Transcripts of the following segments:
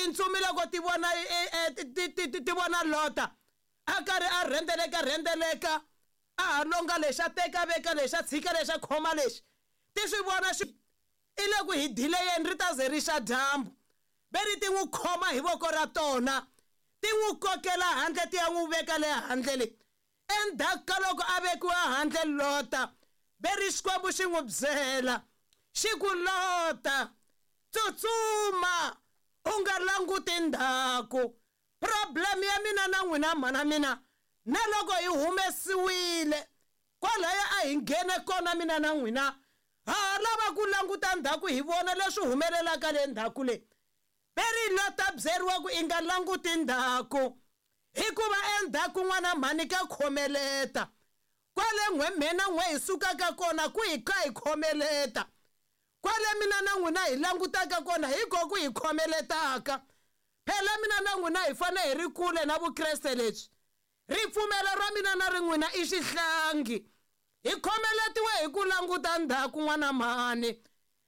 Tintsumi loko ti vona ti vona Lota a karhi a rhendeleka rhendeleka a ha longa lexi a teka veka lexi a tshika lexi a khoma lexi ti swi vona xi i le ku hi dileyeni ri ta ze ri xa dyambu ve ri ti n'wi khoma hi voko ra tona ti n'wi kokela handle ti ya n'wi veka le handle le endzhaku ka loko a vekiwa handle Lota ve ri Xikwembu xi n'wi byela xi ku Lota tsutsuma u nga languti ndzhaku problem ya mina na n'wina mhana mina na loko hi humesiwile kwalaya a hi nghene kona mina na n'wina ha ha lava ku languta ndzhaku hi vona leswi humelelaka le ndzhaku le ve ri Lota byeriwa ku i nga languti ndzhaku hikuva endzhaku n'wana mhani ka khomeleta kwale n'we mhena n'we hi sukaka kona ku hi ka hi khomeleta kwale mina na n'wina hi langutaka kona hi ko ku hi khomeletaka phela mina na n'wina hi fanele hi ri kule na vukreste lebyi ripfumelo ra mina na ri n'wina i xihlangi hi khomeletiwe hi ku languta ndzhaku n'wana mhani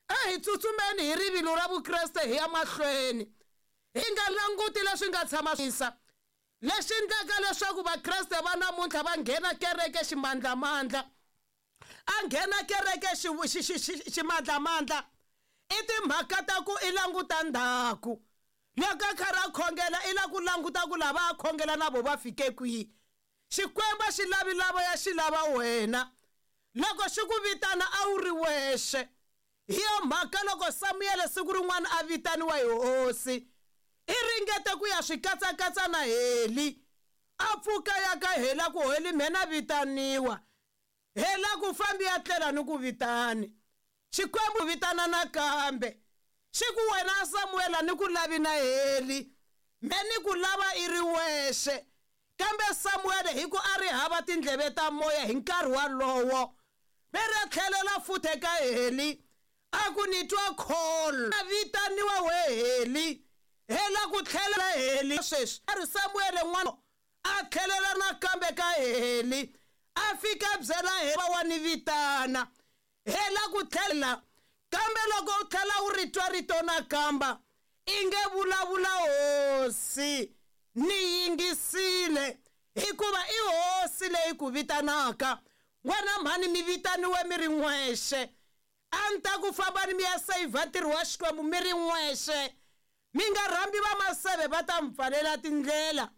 a hi tsutsumeni hi rivilo ra vukreste hi ya mahlweni hi nga languti leswi nga tshama isa leswi endlaka leswaku vakreste va namuntlha va nghena kereke ximandlamandla a nghena kereke ximandlamandla i timhaka ta ku i languta ndzhaku loko a karhi a khongela i la ku languta ku lava a khongela na vo va fike kwihi Xikwembu a xi lavi lava ya xi lava wena loko xi ku vitana a wu ri wexe hi yo mhaka loko Samuyele siku rin'wana a vitaniwa hi hosi i ringete ku ya swi katsakatsa na Heli a pfuka ya ka Heli a ku Heli mhena vitaniwa Heli a ku fambi ya tlela ni ku vitani Xikwembu vitana nakambe xi ku wena Samuel a ni ku lavi na Heli me ni ku lava i ri wexe kambe Samuel hi ku a ri hava tindleve ta moya hi nkarhi walowo ve ri a tlhelela futhi eka Heli a ku ni twa call a vitaniwa we Heli Heli a ku tlhelela Heli sweswi a ri Samuel n'wana a tlhelela nakambe ka Heli a fika a byela Heli wa ni vitana Hela ku tlhela kambe loko u tlhela u ri twa rito nakamba i nge vulavula hosi ni yingisile hikuva i hosi leyi ku vitanaka n'wana mhani mi vitaniwe mi ri n'wexe a ni ta ku fambani mi ya sayivha ntirho wa Xikwembu mi ri n'wexe mi nga rhambi vamaseve va ta mi pfalela tindlela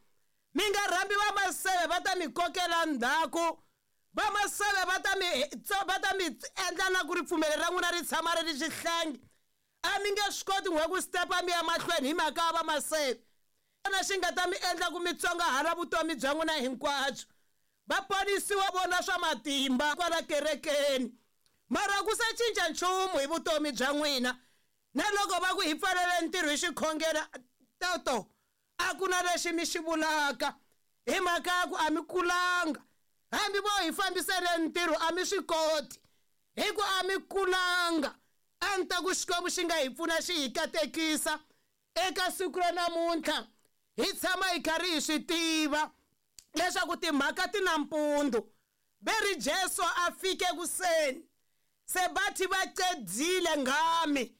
mi nga rhambi vamaseve va ta mi kokela ndzhaku vamaseve va ta mi va ta mi endla na ku ripfumelo ra n'wina ri tshama ri ri xihlangi a mi nge swi koti n'we ku stepa mi ya mahlweni hi mhaka ya vamaseve xona xi nga ta mi endla ku mi tsongahala vutomi bya n'wina hinkwabyo va ponisiwa vona swa matimba kwala kerekeni mara ku se cinca nchumu hi vutomi bya n'wina na loko va ku hi pfalele ntirho hi xikhongelo toto a ku na lexi mi xi vulaka hi mhaka ya ku a mi kulanga hambi vo hi fambisele ntirho a mi swi koti hi ku a mi kulanga a ni ta ku Xikwembu xi nga hi pfuna xi hi katekisa eka siku ra namuntlha hi tshama hi karhi hi swi tiva leswaku timhaka ti na mpundzu ve ri Jesu a fike kuseni se bathi va cedzile ngami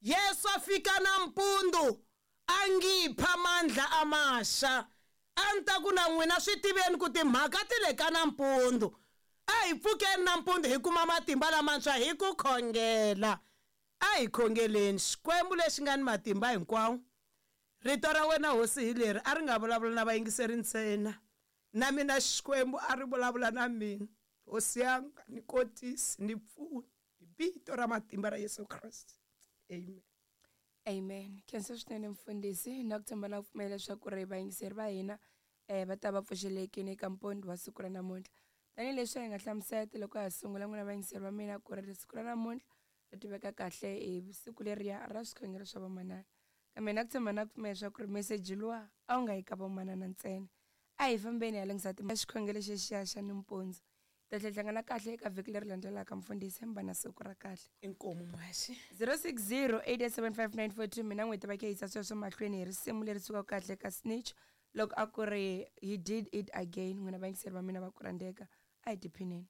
Yesu a fika nampundzu a ngipha mandla amasha a ni ta ku na n'wina swi tiveni ku timhaka ti le ka nampundzu a hi pfukeni nampundzu hi kuma matimba lamantshwa hi ku khongela a hi khongeleni Xikwembu lexi nga ni matimba hinkwawo rito ra wena hosi hi leri a ri nga vulavula na vayingiseri ntsena na mina Xikwembu a ri vulavula na mina hosi yanga ni kotisi ni pfuni hi vito ra matimba ra Yesu Kreste amen. Amen. Khensa swinene mfundhisi na ku tshemba na ku pfumela leswaku ri vayingiseri va hina um va ta va pfuxelekile eka mpondo wa siku ra namuntlha. Tanihileswi hi nga hlamusela loko ha sungula n'wina vayingiseri va mina ku ri siku ra namuntlha ri tiveka kahle hi siku leriya ra swikhongelo swa vamanana. Kambe na ku tshemba na ku pfumela leswaku ri meseji luwa a wu nga yi ka vamanana ntsena. A hi fambeni hi ya lunghisa xikhongelo xexiya xa nimpundzu. Ta tlhela hi hlangana kahle eka vhiki leri landzelaka mfundhisi mi va na siku ra kahle. Inkomu muhaxi. 060 8875942 mina n'wheti va khe yisa sweswo mahlweni hi risimu leri sukaka kahle ka Snitch loko a ku ri he did it again n'wina vayingiseri va mina va ku rhandzeka a hi tiphineni.